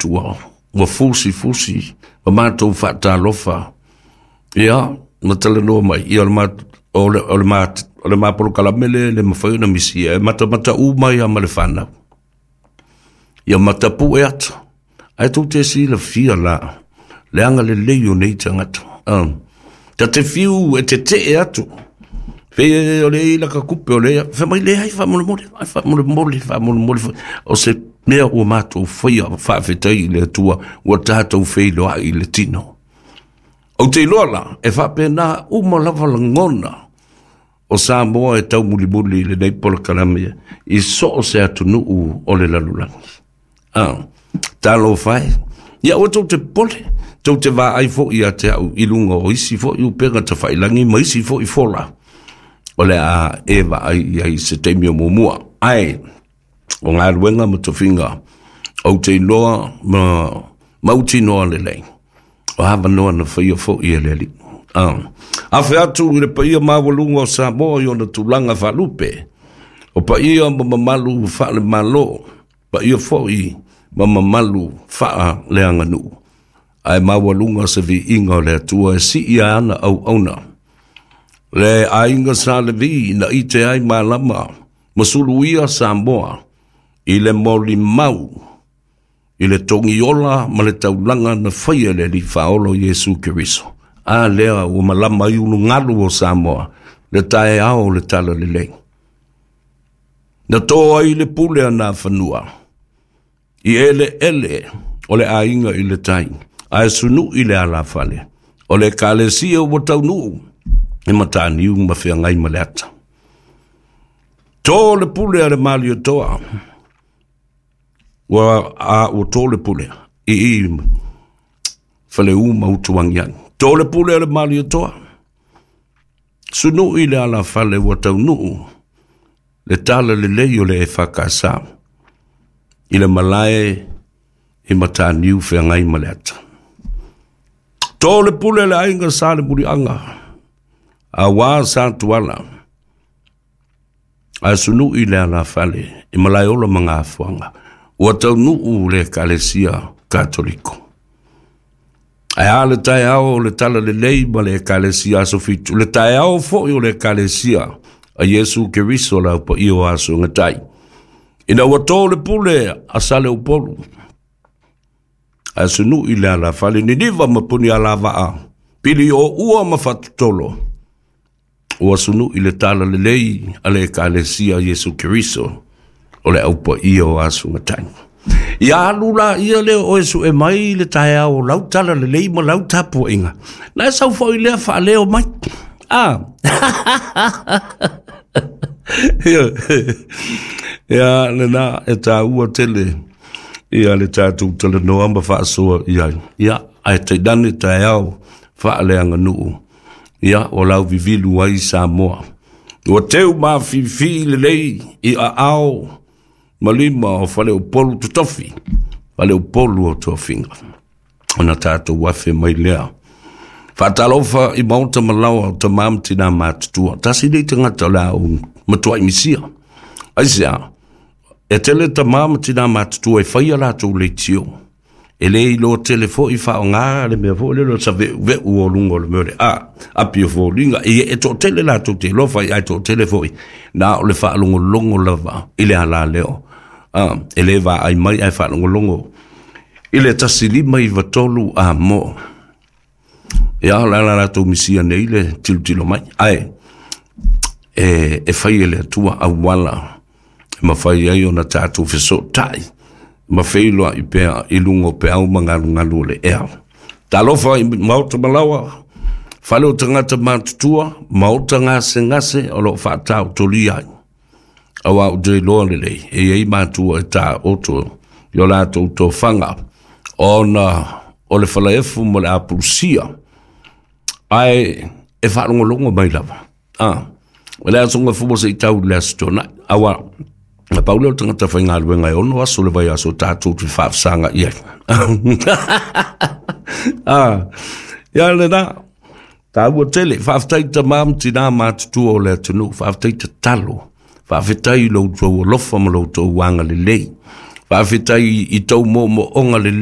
Atua ua fusifusi ma matou faatalofa, ia ma talanoa mai, ia o le ma polokalame lea e le mafai ona misia, e matamata uma ai lava ma le fanau. Ia matapue ata, ae tou te silafia la le agalelei o nei tagata. Ta te fiu e tetee atu, fe o le i laka kupe o le fe mai leai, faamolemole, faamolemole, faamolemole. O se mea ua matou faia, faafetai i le Atua ua tatou feiloai i le tino. Ou te iloa la, e faapena uma lava lagona o Samoa e taumulimuli i lenei polokalame i so o se atunuu o le lalolagi. Talofa e. Ia ua tou te popole, tou te vaai foi ia te au i luga o isi foi upega tafailagi ma isi foi fola o le a e vaai i ai i se taimi o muamua. Ae o galuega ma tofiga ou te iloa ma mautinoa lelei, o avanoa na faia foi e le Alii. Afe atu i le paia maualuga o Samoa i ona tulaga faalupe, o paia ma mamalu faalemalo, paia foi ma mamalu faaleaganuu, ae maualuga se viiga o le Atua e sii ana auauna. Le aiga Sa Levi na ite ai malama ma suluia Samoa i le molimau i le togiola ma le taulaga na faia e le Alii Faaola o Iesu Keriso. A lea ua malama ai ulugalu o Samoa le taeao o le talalelei. Na to ai le pule a Nafanua i eleele o le aiga i le tai, ae sunui le alafale o le Ekalesia ua taunuu i Mataniu ma feagai ma le ata. To le pule a le Malietoa, ua to le pule i Faleu ma Utuagiagi. To le pule a le Malietoa, sunui le alafale ua taunuu le talalelei o le EFKS i le malae i Mataniu feagai ma le ata. To le pule le aiga Sa le Muliaga, auā Sa Tuala, ae sunui le alafale i Malaeola ma Gafoaga, ua taunuu le Ekalesia Katoliko. Ae a le taeao o le talalelei ma le Ekalesia Aso Fitu, le taeao foi o le Ekalesia a Iesu Keriso le aupaia o aso gatai. Ina ua to le pule a Saleupolu, ae sunui le alafale Niniva ma Punialavaa, pili o ua ma Fatutolo, ua sunui le talalelei a le Ekalesia Iesu Keriso o le aupaia o aso gatai. Ia alu la ia lea o e sue mai le taeao o lau talalelei ma lau tapuaiga. Na e sau foi lea faaleo mai. Ah. Ia lena e tāua tele ia le tatou talanoa ma faasoa i ai. Ia, ae tainane taeao faaleaganuu. Ia, o lau vivilu ai Samoa. Ua teu mafifi lelei i aao ma lima o Faleupolu totofi, Faleupolu o tofiga. Ona tatou afe mai lea. Faatalofa i maota ma laoa o tamā ma tinā matutua. Tasi nei tagata o le a ou matuai misia. Aisea, e tele tamā ma tinā matutua e faia latou leitio. E le iloa tele foi faaaoga le mea foi lele o le saveuveu o luga o le mea o le a api o foliga. E toatele latou te iloa fai, ae toatele foi na o le faalogologo lava i le alaleo. E le vaai mai ae faalogologo i le 1593 a mo. Ia, o le ala latou misia nei le tilotilo mai. Ae, e fai e le Atua auala e mafai ai ona tatou fesootai ma feiloai pea i luga o peau ma galugalu o le ea. Talofa i maota ma laoa, fale o tagata matutua, maota gasegase o loo faataotolia ai. Auā ou te iloa lelei, e i ai matua e taoto i o latou tofaga, ona o le falaefu ma le apulusia, ae e faalogologo mai lava. O le aso Gafua se i tau i le Aso Toonai. Auā, na pau lea o le tagata faigaluega e 6 aso le vaiaso tatou te faafesaga i ai. Ia lena, taua tele. Faafetai tamā ma tinā matutua o le atunuu, faafetai tatalo. Faafetai i lo outou alofa ma lo outou agalelei. Faafetai i tou moomooga lelei.